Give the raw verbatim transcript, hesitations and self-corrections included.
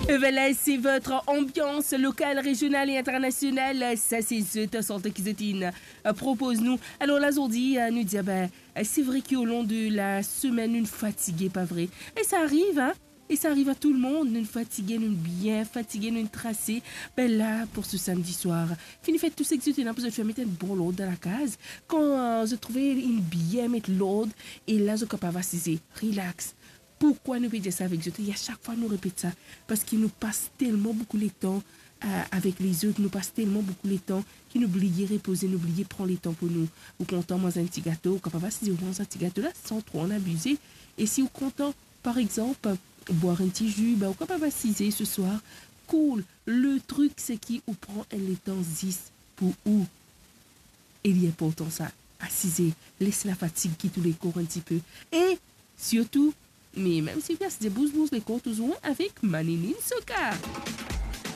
Voilà, c'est votre ambiance locale, régionale et internationale. Sa se zot sante ki zot inn propoz nou. Alor la, zordi, euh, nou dir, ben, euh, c'est vrai ki o lon de la semenn, nou fatige, pa vre? E sa ariv, hein? E sa ariv a tou lemonn, nou fatige, nou bien fatige, nou trase. Ben la, pou se samedi soir, fini fer tou seki zot ena pou zot fer, met enn bon lord dan lakaz. Kan, euh, zot trouve inn bien met lord, e la zot kapav asize, relax. Poukwa nou pe dir sa avek zot? E a sak fwa nou repet sa, parski nou pas telman boukou letan, euh, avek lezot, nou pas telman boukou letan ki nou bliye repoze, nou bliye pran letan pou nou. Ou kontan manz enn ti gato, ou kapav asize, ou manz enn ti gato la, san tro ann abize. E si ou kontan, par exanp, bwar enn ti zi, ben, ou kapav asize se swar, cool. Le trik, seki ou pran enn letan zis pou ou. E li inportan sa, asize, les lafatig kit ou lekor enn tipe. E sirtou, me mem si ou pe asize, bouz, bouz lekor touzour avek Manini Soka.